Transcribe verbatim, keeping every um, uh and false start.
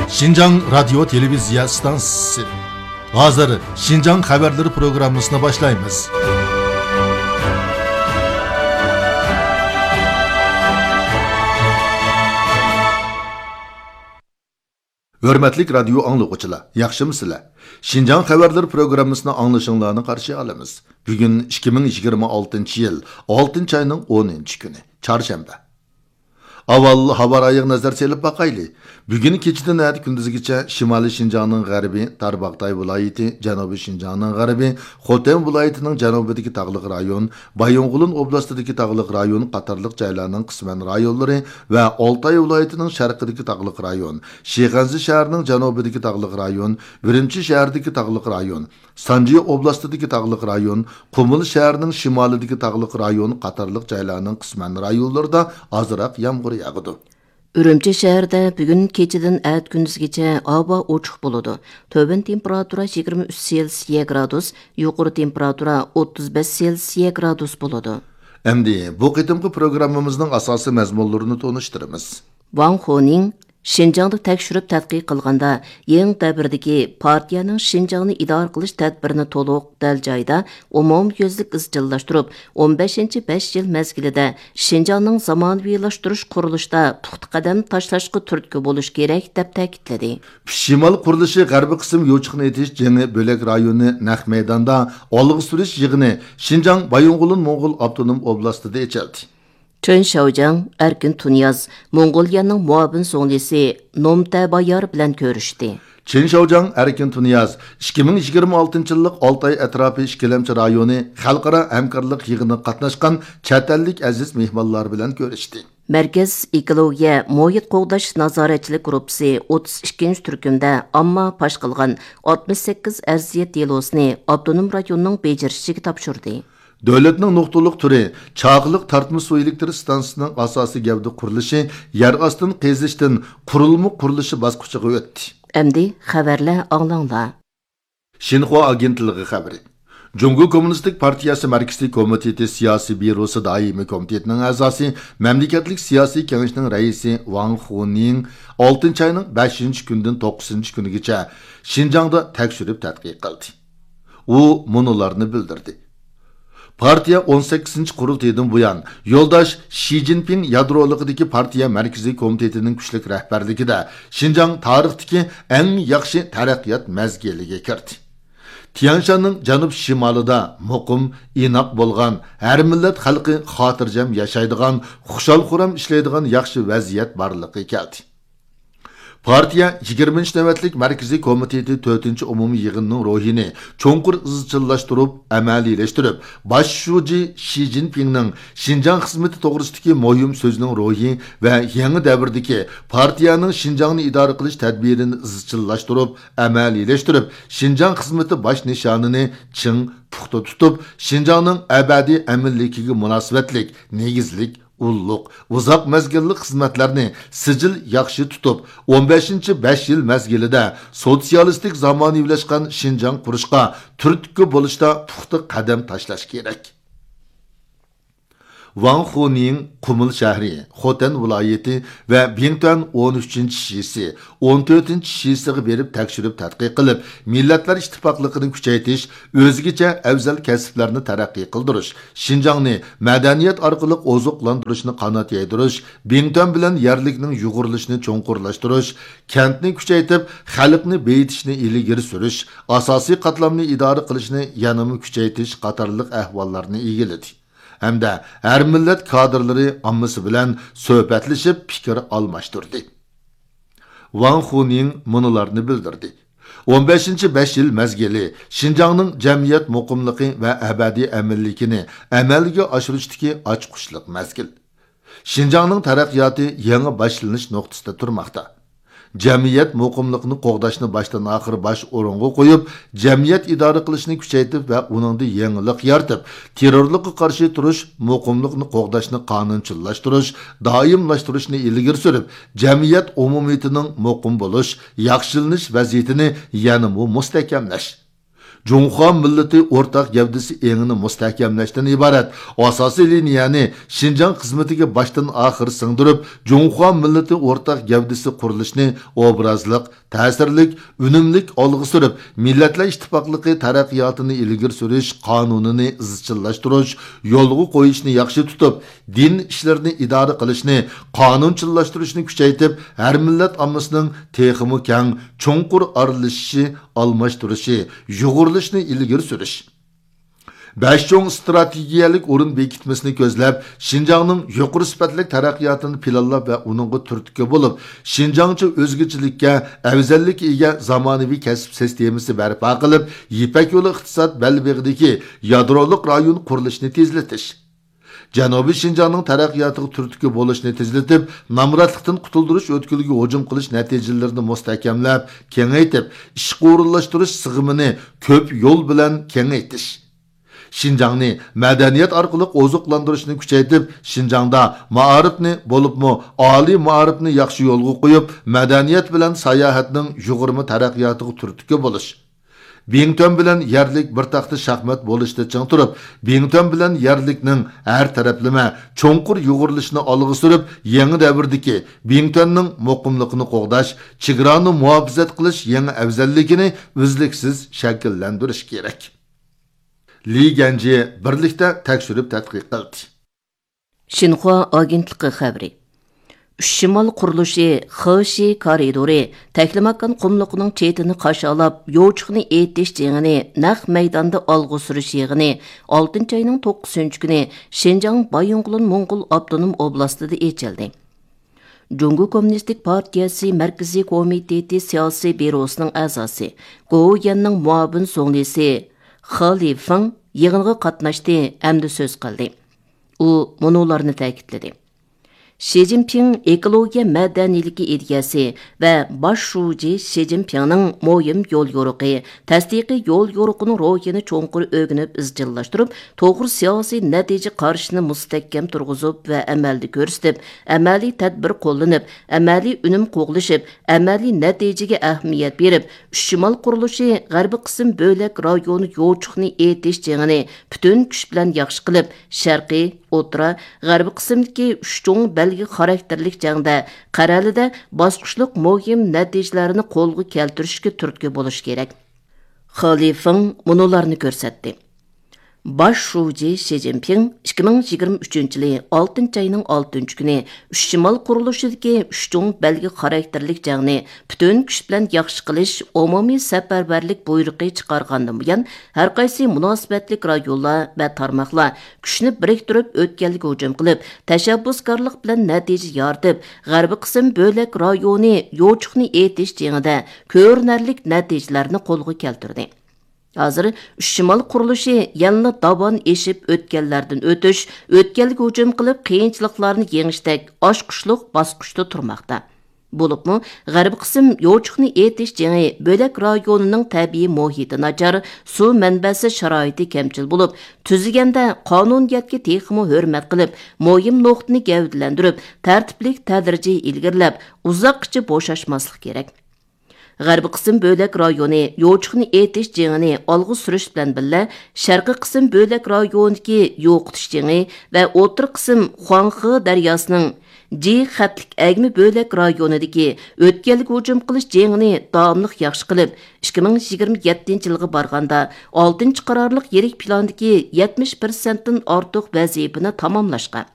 شىنجاڭ رادىيو تېلېۋىزىيە ئىستانسىسى. ھازىر شىنجاڭ خەۋەرلىرى پروگراممىسىنى باشلايمىز. ھۆرمەتلىك رادىيو ئاڭلىغۇچىلار، ياخشىمۇسىلەر؟ شىنجاڭ خەۋەرلىرى پروگراممىسىنى ئاڭلىشىڭلارنى قارشى ئالىمىز. بۈگۈن ئىككى مىڭ يىگىرمە ئالتىنچى يىل ئالتىنچى ئاينىڭ ئونىنچى كۈنى، چارشەنبە. ئاۋۋال ھاۋا رايىغا نەزەر سېلىپ باقايلى. بۈگۈن كېچىدىن ئەتە كۈندۈزگىچە شىمالىي شىنجاڭنىڭ غەربى، تارباغاتاي ۋىلايىتى، جەنۇبىي شىنجاڭنىڭ غەربى، خوتەن ۋىلايىتىنىڭ جەنۇبىدىكى تاغلىق رايون، بايىنغولىن ئوبلاستىدىكى تاغلىق رايون قاتارلىق جايلارنىڭ قىسمەن رايونلىرى ۋە ئالتاي ۋىلايىتىنىڭ شەرقىدىكى تاغلىق رايون، شىخەنزە شەھىرىنىڭ جەنۇبىدىكى تاغلىق رايون، ئۈرۈمچى شەھىرىدىكى تاغلىق رايون، سانجى ئوبلاستىدىكى تاغلىق رايون، قۇمۇل شەھىرىنىڭ شىمالىدىكى تاغلىق رايون قاتارلىق جايلارنىڭ قىسمەن رايونلىرىدا ئازراق يامغۇر ياغىدۇ. ئۈرۈمچى شەھىرىدە بۈگۈن كېچىدىن ئەتە كۈندۈزگىچە ھاۋا ئوچۇق بولىدۇ. تۆۋەن تېمپېراتۇرا يىگىرمە ئۈچ سېلسىيە گرادۇس، يۇقىرى تېمپېراتۇرا ئوتتۇز بەش سېلسىيە گرادۇس بولىدۇ. ئەمدى بۇ قېتىمقى پروگراممىمىزنىڭ ئاساسىي مەزمۇنلىرىنى تونۇشتۇرىمىز. ۋاڭ خۇنىڭ شىنجاڭدا تەكشۈرۈپ تەتقىق قىلغاندا، يېڭى دەۋردىكى پارتىيەنىڭ شىنجاڭنى ئىدارە قىلىش تەدبىرىنى تولۇق، دەل جايىدا، ئومۇميۈزلۈك ئىزچىللاشتۇرۇپ، ئون بەشىنچى بەش يىل مەزگىلىدە شىنجاڭنىڭ زامانىۋىلاشتۇرۇش قۇرۇلۇشىدا پۇختا قەدەم تاشلاشقا تۈرتكە بولۇشى كېرەك، دەپ تەكىتلىدى. ئۈچ شىمال قۇرۇلۇشى غەربىي قىسىم يوچۇقنى ئېتىش جېڭى بۆلەك رايونى نەق مەيداندا ئالغا سۈرۈش يىغىنى شىنجاڭ بايىنغولىن موڭغۇل ئاپتونوم ئوبلاستىدا ئېچىلدى. چېن شياۋجياڭ، ئەركىن تۇنىياز موڭغۇلىيەنىڭ مۇئاۋىن زۇڭلىسى نوم تەبايار بىلەن كۆرۈشتى. چېن شياۋجياڭ، ئەركىن تۇنىياز ئىككى مىڭ يىگىرمە ئالتىنچى يىللىق ئالتاي ئەتراپى ئىككىلەمچى رايونى خەلقئارا ھەمكارلىق يىغىنىغا قاتناشقان چەت ئەللىك ئەزىز مېھمانلار بىلەن كۆرۈشتى. مەركەز ئېكولوگىيە مۇھىت قوغداش نازارەتچىلىك گۇرۇپپىسى ئوتتۇز ئىككىنچى تۈركۈمدە ئامما پاش قىلغان ئاتمىش سەككىز ئەرزىيەت دېلوسىنى ئاپتونوم رايوننىڭ بېجىرىشىگە تاپشۇردى. دۆلەتنىڭ نۇقتىلىق تۈرى چاقىلىق تارتما سۇ ئېلېكتر ئىستانسىسىنىڭ ئاساسىي گەۋدە قۇرۇلۇشى يەر ئاستىن قېزىشتىن قۇرۇلما قۇرۇلۇشى باسقۇچىغا ئۆتتى. ئەمدى خەۋەرلەر ئاڭلاڭلار. شىنخۇا ئاگېنتلىقى خەۋىرى. جۇڭگو كوممۇنىستىك پارتىيەسى مەركىزىي كومىتېتى سىياسىي بيۇروسى دائىمىي كومىتېتىنىڭ ئەزاسى، مەملىكەتلىك سىياسىي كېڭىشىنىڭ رەئىسى ۋاڭ خۇنىڭ ئالتىنچى ئاينىڭ بەشىنچى كۈنىدىن توققۇزىنچى كۈنىگىچە شىنجاڭدا تەكشۈرۈپ تەتقىق قىلدى. ئۇ مۇنۇلارنى بىلدۈردى. پارتىيە ئون سەككىزىنچى قۇرۇلتىيىدىن بۇيان، يولداش شى جىنپىڭ يادرولۇقىدىكى پارتىيە مەركىزىي كومىتېتىنىڭ كۈچلۈك رەھبەرلىكىدە شىنجاڭ تارىختىكى ئەڭ ياخشى تەرەققىيات مەزگىلىگە كىردى. تيەنشاننىڭ جەنۇب شىمالىدا مۇقىم، ئىناق بولغان، ھەر مىللەت خەلقى خاتىرجەم ياشايدىغان، خۇشال-خۇرام ئىشلەيدىغان ياخشى ۋەزىيەت بارلىققا كەلدى. پارتىيە يىگىرمىنچى نۆۋەتلىك مەركىزىي كومىتېتى تۆتىنچى ئومۇمىي يىغىنىنىڭ روھىنى چوڭقۇر ئىزچىللاشتۇرۇپ، ئەمەلىيلەشتۈرۈپ، باش شۇجى شى جىنپىڭنىڭ شىنجاڭ خىزمىتى توغرىسىدىكى مۇھىم سۆزىنىڭ روھى ۋە يېڭى دەۋردىكى پارتىيەنىڭ شىنجاڭنى ئىدارە قىلىش تەدبىرىنى ئىزچىللاشتۇرۇپ، ئەمەلىيلەشتۈرۈپ، شىنجاڭ خىزمىتى باش نىشانىنى چىڭ، پۇختا تۇتۇپ، شىنجاڭنىڭ ئەبەدىي ئەمىنلىكىگە مۇناسىۋەتلىك نېگىزلىك ئۇللۇق، ئۇزاق مەزگىللىك خىزمەتلەرنى سىجىل ياخشى تۇتۇپ، ئون بەشىنچى بەش يىل مەزگىلىدە سوتسىيالىستىك زامانىۋىلاشقان شىنجاڭ قۇرۇشقا تۈرتكە بولۇشتا پۇختا قەدەم تاشلاش كېرەك. ۋاڭ خۇنىڭ قۇمۇل شەھىرى، خوتەن ۋىلايىتى ۋە بىڭتۈەن ئون ئۈچىنچى شىسى، ئون تۆتىنچى شىسىغا بېرىپ تەكشۈرۈپ تەتقىق قىلىپ، مىللەتلەر ئىتتىپاقلىقىنى كۈچەيتىش، ئۆزگىچە ئەۋزەل كەسىپلەرنى تەرەققىي قىلدۇرۇش، شىنجاڭنى مەدەنىيەت ئارقىلىق ئوزۇقلاندۇرۇشنى قانات يايدۇرۇش، بىڭتۈەن بىلەن يەرلىكنىڭ يۇغۇرۇلۇشىنى چوڭقۇرلاشتۇرۇش، كەنتنى كۈچەيتىپ، خەلقنى بېيىتىشنى ئىلگىرى سۈرۈش، ئاساسىي قاتلامنى ئىدارە قىلىشنى يەنىمۇ كۈچەيتىش قاتارلىق ئەھۋاللارنى ئىگىلىدى. ھەمدە ھەر مىللەت كادىرلىرى ئاممىسى بىلەن سۆھبەتلىشىپ پىكىر ئالماشتۇردى. ۋاڭ خۇنىڭ مۇنۇلارنى بىلدۈردى. ئون بەشىنچى بەش يىل مەزگىلى شىنجاڭنىڭ جەمئىيەت مۇقىملىقى ۋە ئەبەدىي ئەمىنلىكىنى ئەمەلگە ئاشۇرۇشتىكى ئاچقۇچلۇق مەزگىل. شىنجاڭنىڭ تەرەققىياتى يېڭى باشلىنىش نۇقتىسىدا تۇرماقتا. جەمئىيەت مۇقىملىقىنى قوغداشنى باشتىن ئاخىر باش ئورۇنغا قويۇپ، جەمئىيەت ئىدارە قىلىشنى كۈچەيتىپ ۋە ئۇنىڭدا يېڭىلىق يارىتىپ، تېررورلۇققا قارشى تۇرۇش، مۇقىملىقنى قوغداشنى قانۇنچىللاشتۇرۇش، دائىملاشتۇرۇشنى ئىلگىرى سۈرۈپ، جەمئىيەت ئومۇمىيىتىنىڭ مۇقىم بولۇش، ياخشىلىنىش ۋەزىيىتىنى يەنىمۇ مۇستەھكەملەش. جۇڭخۇا مىللىتى ئورتاق گەۋدىسى ئېڭىنى مۇستەھكەملەشتىن ئىبارەت ئاساسىي لىنىيەنى شىنجاڭ خىزمىتىگە باشتىن ئاخىر سىڭدۈرۈپ، جۇڭخۇا مىللىتى ئورتاق گەۋدىسى قۇرۇلۇشىنى ئوبرازلىق، تەسىرلىك، ئۈنۈملۈك ئالغا سۈرۈپ، مىللەتلەر ئىتتىپاقلىقى تەرەققىياتىنى ئىلگىرى سۈرۈش قانۇنىنى ئىزچىللاشتۇرۇش، يولغا قويۇشنى ياخشى تۇتۇپ، دىن ئىشلىرىنى ئىدارە قىلىشنى قانۇنچىللاشتۇرۇشنى كۈچەيتىپ، ھەر مىللەت ئاممىسىنىڭ تېخىمۇ كەڭ، چوڭقۇر ئارىلىشىشى، ئالماشتۇرۇشى، يۇغۇرۇلۇشىنى ئىلگىرى سۈرۈش. بەش چوڭ ئىستراتېگىيەلىك ئورۇن بېكىتمىسىنى كۆزلەپ، شىنجاڭنىڭ يۇقىرى سۈپەتلىك تەرەققىياتىنى پىلانلاپ ۋە ئۇنىڭغا تۈرتكە بولۇپ، شىنجاڭچە ئۆزگىچىلىككە، ئەۋزەللىككە ئىگە زامانىۋى كەسىپ سىستېمىسى بەرپا قىلىپ، يىپەك يولى ئىقتىساد بەلبېغىدىكى يادرولۇق رايون قۇرۇلۇشىنى تېزلىتىش. جەنۇبىي شىنجاڭنىڭ تەرەققىياتىغا تۈرتكە بولۇشنى تېزلىتىپ، نامراتلىقتىن قۇتۇلدۇرۇش ئۆتكىلىگە ھۇجۇم قىلىش نەتىجىلىرىنى مۇستەھكەملەپ، كېڭەيتىپ، ئىشقا ئورۇنلاشتۇرۇش سىغىمىنى كۆپ يول بىلەن كېڭەيتىش. شىنجاڭنى مەدەنىيەت ئارقىلىق ئوزۇقلاندۇرۇشنى كۈچەيتىپ، شىنجاڭدا مائارىپنى، بولۇپمۇ ئالىي مائارىپنى ياخشى يولغا قويۇپ، مەدەنىيەت بىلەن ساياھەتنىڭ يۇغۇرما تەرەققىياتىغا تۈرتكە بولۇش. بىڭتۈەن بىلەن يەرلىك بىر تاختا شاھمات بولۇشتا چىڭ تۇرۇپ، بىڭتۈەن بىلەن يەرلىكنىڭ ھەر تەرەپلىمە چوڭقۇر يۇغۇرۇلۇشىنى ئالغا سۈرۈپ، يېڭى دەۋردىكى بىڭتۈەننىڭ مۇقىملىقىنى قوغداش، چېگرانى مۇھاپىزەت قىلىش يېڭى ئەۋزەللىكىنى ئۈزلۈكسىز شەكىللەندۈرۈش كېرەك. لى گەنجى بىرلىكتە تەكشۈرۈپ تەتقىق قىلدى. شىنخۇا ئاگېنتلىقى خەۋىرى. ئۈچ شىمال قۇرۇلۇشى خېشى كارىدورى تەكلىماكان قۇملۇقىنىڭ چېتىنى قاشالاپ، يوچۇقنى ئېيتىش جېڭىنى نەق مەيداندا ئالغا سۈرۈش يىغىنى ئالتىنچى ئاينىڭ توققۇزىنچى كۈنى شىنجاڭ بايىنغولىن موڭغۇل ئاپتونوم ئوبلاستىدا ئېچىلدى. جۇڭگو كوممۇنىستىك پارتىيەسى مەركىزىي كومىتېتى سىياسىي بيۇروسىنىڭ ئەزاسى، گوۋۇيۈەننىڭ مۇئاۋىن زۇڭلىسى خې لىفېڭ يىغىنغا قاتناشتى ھەمدە سۆز قىلدى. ئۇ مۇنۇلارنى تەكىتلىدى: شى جىنپىڭ ئېكولوگىيە مەدەنىيلىكى ئىدىيەسى ۋە باش شۇجى شى جىنپىڭنىڭ مۇھىم يول يورۇقى، تەستىقىي يول يورۇقىنىڭ روھىنى چوڭقۇر ئۆگىنىپ ئىزچىللاشتۇرۇپ، توغرا سىياسىي نەتىجە قارىشىنى مۇستەھكەم تۇرغۇزۇپ ۋە ئەمەلدە كۆرسىتىپ، ئەمەلىي تەدبىر قوللىنىپ، ئەمەلىي ئۈنۈم قوغلىشىپ، ئەمەلىي نەتىجىگە ئەھمىيەت بېرىپ، ئۈچ شىمال قۇرۇلۇشى غەربىي قىسىم بۆلەك رايونى يوچۇقنى ئېتىش جېڭىنى پۈتۈن كۈچ بىلەن ياخشى قىلىپ، شەرقىي، ئوتتۇرا، غەربىي قىسىمدىكى ئۈچ چوڭ بەلگە خاراكتېرلىك جەڭدە قەرەلىدە باسقۇچلۇق مۇھىم نەتىجىلەرنى قولغا كەلتۈرۈشكە تۈرتكە بولۇش كېرەك. خې لىفېڭ مۇنۇلارنى كۆرسەتتى. باش شۇجى شى جىنپىڭ ئىككى مىڭ يىگىرمە ئۈچىنچى يىلى ئالتىنچى ئاينىڭ ئالتىنچى كۈنى ئۈچ شىمال قۇرۇلۇشىدىكى ئۈچ چوڭ بەلگە خاراكتېرلىك جەڭنى پۈتۈن كۈچ بىلەن ياخشى قىلىش ئومۇمىي سەپەرۋەرلىك بۇيرۇقى چىقارغاندىن بۇيان، ھەرقايسى مۇناسىۋەتلىك رايونلار ۋە تارماقلار كۈچنى بىرىكتۈرۈپ ئۆتكەلگە ھۇجۇم قىلىپ، تەشەببۇسكارلىق بىلەن نەتىجە يارىتىپ، غەربىي قىسىم بۆلەك رايونى يوچۇقنى ئېتىش جېڭىدە كۆرۈنەرلىك نەتىجىلەرنى قولغا كەلتۈردى. ھازىر ئۈچ شىمال قۇرۇلۇشى يەنىلا داۋان ئېشىپ ئۆتكەللەردىن ئۆتۈش، ئۆتكەلگە ھۇجۇم قىلىپ قىيىنچىلىقلارنى يېڭىشتەك ئاچقۇچلۇق باسقۇچتا تۇرماقتا. بولۇپمۇ، غەربىي قىسىم يوچۇقنى ئېتىش جېڭى بۆلەك رايونىنىڭ تەبىئىي مۇھىتى ناچار، سۇ مەنبەسى شارائىتى كەمچىل بولۇپ، تۈزۈلگەندە قانۇنىيەتكە تېخىمۇ ھۆرمەت قىلىپ، مۇھىم نۇقتىنى گەۋدىلەندۈرۈپ، تەرتىپلىك تەدرىجىي ئىلگىرىلەپ، ئۇزاققىچە بوشاشماسلىق كېرەك. غەربىي قىسىم بۆلەك رايونى يوچۇقنى ئېتىش جېڭىنى ئالغا سۈرۈش بىلەن بىللە، شەرقىي قىسىم بۆلەك رايونىدىكى يوقىتىش جېڭى ۋە ئوتتۇرا قىسىم خۇاڭخې دەرياسىنىڭ جى خەتلىك ئەگمە بۆلەك رايونىدىكى ئۆتكەلگە ھۇجۇم قىلىش جېڭىنى داۋاملىق ياخشى قىلىپ، ئىككى مىڭ يىگىرمە يەتتىنچى يىلغا بارغاندا ئالتىنچى قارارلىق يىرىك پىلاندىكى يەتمىش پىرسەنتتىن ئارتۇق ۋەزىپىنى تاماملاشقا،